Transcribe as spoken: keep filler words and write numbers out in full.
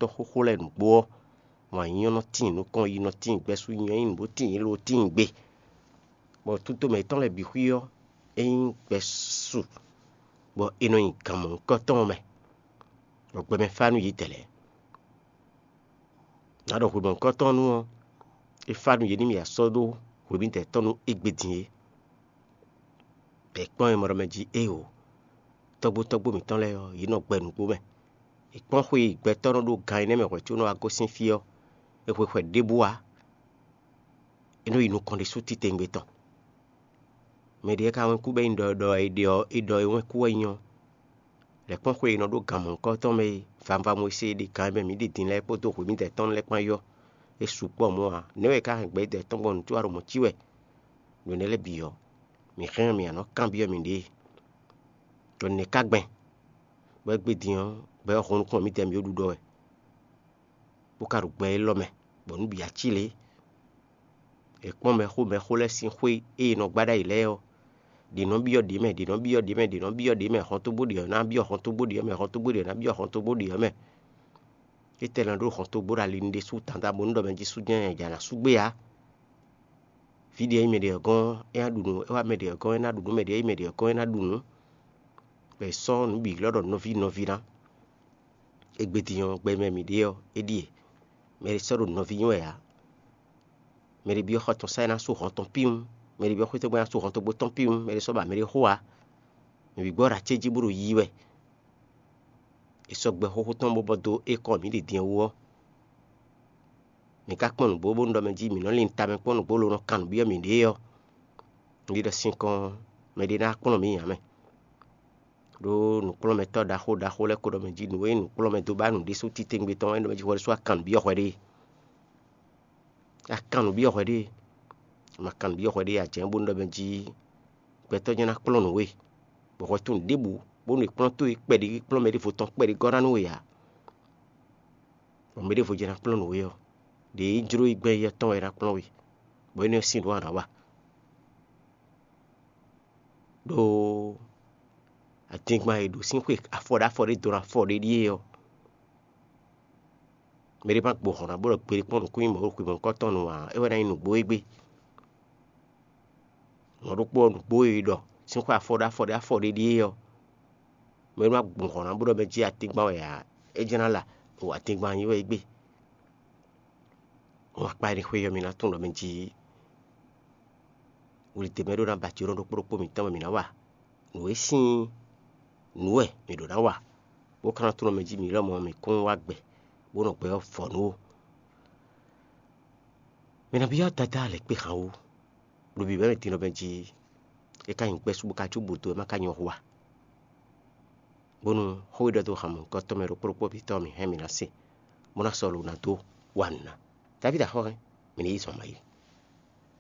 tɔ́ xóxó lɛ́ɛ nǔgbó ɔ́, wǎn nyínyɔ́ nɔ tíin nukɔn, yi nɔ tíin gbɛ́sú, nyínyɔ́ nyí nǔ bó tíin yi ló tíin gbe. Bɔ tutomɛ yětɔn lɛ́ɛ bǐ xwí ɔ́, é nyí gbɛ́su, bɔ è nɔ nyi gan mɔ̌hunkɔtɔn ɔ́ mɛ, bɔ gbɛmɛ fá nú yě dɛ̌ lɛ́ɛ. Nǎ ɖɔ hwemɔ̌hunkɔtɔn nu ɔ́, é fá nú yě ní mì asɔ́ ɖó hwemǐdɛɛ tɔn nú égbé din é. Bɔ è kpɔ́n e mɔ ɖɔ mɛ jí éeǒ, tɔ́gbó tɔ́gbó mǐtɔn lɛ́ɛ ɔ́, yě nɔ gbɛ nǔgbó mɛ. È kpɔ́n xwe e gbɛtɔ́ nɔ ɖó gan énɛ́ mɛ hwɛ̌ có nɔ wá gosín fí ɔ́, è hwe hwɛ ɖěbǔ ǎ; é nɔ yi nukɔn ɖésú titewungbe tɔn. Mɛ ɖě ka wɛ́n kú bɔ é nyí ɖɔ ɖɔ è ɖe ɔ́, è ɖɔ é wɛ́n kú wɛ nyí ɔ́, lɛ̌ kpɔ́n xwe e è nɔ ɖó gan mɔ̌hunkɔtɔn mɛ e vanvamɔ e se e ɖe gan e mɛ mǐ ɖi din lɛ́ɛ kpódó hwemǐdɛɛ tɔn lɛ́ɛ kpán yi ɔ́, é sukpɔ́ mɔ̌ ǎ. Nɛ̌ wɛ é ka hɛn gbɛ̌yídɛɛ tɔn gbɔn nǔtúwa ɖo mɔ̌ cí wɛ? Ɖo nɛ̌ lɛ́ɛ bǐ ɔ́, mǐ hɛn mǐ nǎ nɔ kanbyɔ́ mǐɖée. Ɖɔ nɛ̌ ka gbɛn, bɔ égbé din ɔ́, gbɛ ɔ́ hun nukúnnú mǐtɛn mǐ ɖo ɖuɖɔ wɛ, bó ka ɖo gbɛ élɔ́ mɛ, bɔ nǔ bǐ ací lě. È kpɔ́n mɛxó mɛxó lɛ́ɛ sín xwé e è nɔ gbá ɖ'ayǐ lɛ́ɛ ɔ́, ɖě nɔ byɔ́ ɖě mɛ, ɖě nɔ byɔ́ ɖě mɛ, ɖě nɔ byɔ́ ɖě mɛ, hɔntogbó ɖě ɔ́ ná byɔ́ hɔntogbó ɖě ɔ́ mɛ, hɔntogbó ɖě ɔ́ ná byɔ́ hɔntogbó ɖě ɔ́ mɛ. Étɛ́ nɔ ɖó hɔntogbó ɖo ali nu ɖésú tanta bónú ɖɔ mɛ jí sú jɛ́n nya ná sú gbé ǎ? Vǐ ɖě e nyí mɛ ɖě ɔ́ gɔ́n é ná ɖu nǔ, é wá mɛ ɖě ɔ́ gɔ́n é ná ɖu nǔ, mɛ ɖě e nyí mɛ ɖě ɔ́ gɔ́n é ná ɖu nǔ. Bɔ è sɔ́ nǔ bǐ lɔ́ ɖɔ nɔví nɔví ná. Égbé din ɔ́, gbɛ mɛ mǐ ɖe ɔ́, é ɖíe: mɛ ɖé sɔ́ ɖo nɔví nyi wɛ ǎ; mɛ ɖé byɔ́ xɔ tɔn sá é ná sú hɔn tɔn píwún; mɛ ɖé byɔ́ xwé tɔn gbé é ná sú hɔn tɔn gbó tɔn píwún; mɛ ɖé sɔ́ ba mɛ ɖé xó ǎ. Mǐ bǐ gbɔ́ ɖo acéjí bó ɖo yiyi wɛ. È sɔ́ gbɛ xóxó tɔn bó bɔ dó ékɔ́ mǐ ɖi din wú ɔ́, mǐ ka kpɔ́n nǔgbó bónú ɖɔ mɛ jí mǐ nɔ lin tamɛ kpɔ́n nǔgbó lo nɔ kan nǔ byɔ́ mǐɖée ɔ́, un ɖi ɖɔ sinkɔn mɛɖé ná kplɔ́n mǐ ǎ mɛ. Ɖó nǔkplɔ́nmɛtɔ́ ɖaxó ɖaxó lɛ́ɛ ko ɖɔ mɛ jí nǔ e nǔkplɔ́nmɛ dó ba nǔ ɖésú titewungbe tɔn wɛ ɖɔ mɛ jí hwɛ ɖésú a kan nǔ byɔ́ hwɛ ɖée. A kan nǔ byɔ́ hwɛ ɖée. A ma kan nǔ byɔ́ hwɛ ɖée ǎ, jɛ̌n bónú ɖɔ mɛ jí gbɛtɔ́ jɛ́n ná kplɔ́n nǔ we, bɔ hwɛ tunwun ɖěbǔ bónú è kplɔ́n towe kpɛɖé kplɔ́n mɛ ɖěvo tɔn kpɛɖé gɔ́ ná nú we ǎ. Bɔ mɛ ɖěvo jɛ́n ná kplɔ́n nǔ we ɔ́, ɖě e jló yi gbɛn éyɛ́ tɔn wɛ ná kplɔ́n we, bɔ énɛ́ ɔ́ sín ɖó a nǎ wa. Ɖó adingban e ɖo sín xwe afɔ ɖo afɔ ɖé dó ɖo afɔ ɖé ɖíe ɔ́, mɛ ɖé ma gbo hɔn ná bó ɖɔ gbeɖé kpɔ́n nǔkún nyi mɔ̌ ɖo xwemɔ̌kɔ́ tɔn nu ǎ, é wɛ ná nyí nǔgbó égbé. Mɔ̌ ɖokpó ɔ́, nǔgbó e è ɖɔ sín xwe afɔ ɖo afɔ ɖé afɔ ɖé ɖíe ɔ́, mɛ ɖé ma gbo hɔn ná bó ɖɔ mɛ jí atingban wɛ ǎ, é jɛ́n ná la ɖo atingban nyí wɛ égbé. Wǎn kpa énɛ́ xwé ɔ́, mi ná tunwun ɖɔ mɛ jí wlǐdɛ́mɛ ɖó ná ba jǒnɔ ɖokpó ɖokpó mǐtɔn mɛ mǐ ná wa. Nǔ e sín nǔ wɛ mǐ ɖǒ ná wa, bó ka ná tunwun ɖɔ mɛ jí mǐ lɔmɔ̌ mǐ kún wá gbɛ, bó nɔ gbɛ ɔ́ vɔ nú ó. Mǐ ná byɔ́ Dadá lɛ̌ kpé han wú, ɖo bǐbɛ́ mɛ din ɔ́ mɛ jí é ka nyí gbɛ́ sú bó ka cí bǔ dó é má ka nyí ɔ́ hu ǎ. Bónú xó e ɖɔ dó han mɔ̌hunkɔtɔn mɛ ɖokpó ɖokpó bǐ tɔn mǐ hɛn mǐ ná se, bó ná sɔ́ lo ná dó wa nǔ ná. Davídi axɔ́ hɛn, mǐ ní yí zɔn ma yi.